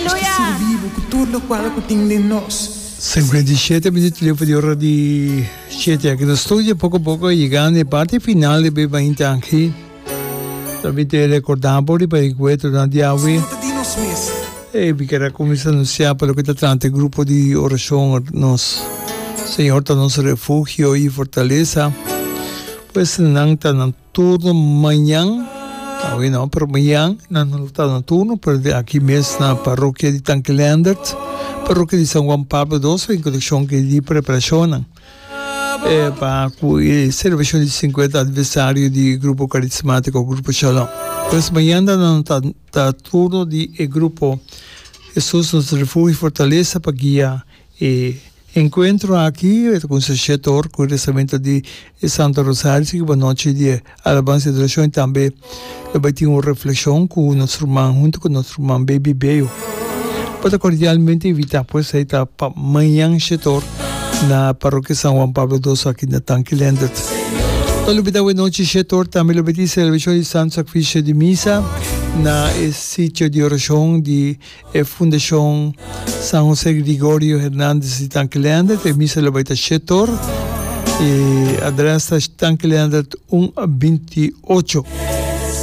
Nos ta sirbi bo ku tur lokual ku tin den nos. 57 minuut liu pa di ora di shete aki na studio. Poko poko yegando e parti final di Beba Inta aki. Ta bin te recorda bo riba e encuentronan di awe. E mi kier a cuminsa anuncia pa loke ta trata e grupo di oracion Nos Señor ta nos refugio y fortaleza. Pues nan ta na Turno mañan, awe no, pero mañan nan lo ta na turno, pero di aki mes na parrokia di Tanki Leendert, parrokia di San Juan Pablo dos, en konekshon ku e di preparashonnan pa ku e selebrashon di sinkuenta aniversario di Grupo Karismatiko Grupo Shalom. Pues mañan nan ta ta turno di e grupo Hesus Nos Refugio i Fortalesa pa guia E enkuentro aki e ta kuminsá shete or ku e rezamento di e Santo Rosario, sigui pa nochi di e Alabansa i Adorashon i tambe lo bai tin un reflekshon ku nos ruman huntu ku nos ruman Baby Beo. Bo ta kordialmente invitá pues ei ta pa mañan shete or na Parokia San Juan Pablo Dos aki na Tanki Leendert. No lubidá awe nochi shete or tambe lo bai tin selebrashon di Santo Sakrifisio di Misa na e sitio di orashon di E Fundashon San Jose Gregorio Hernandez di Tanki Leendert, e misa lo bai ta shetor. E adres ta Tanki Leendert un 28.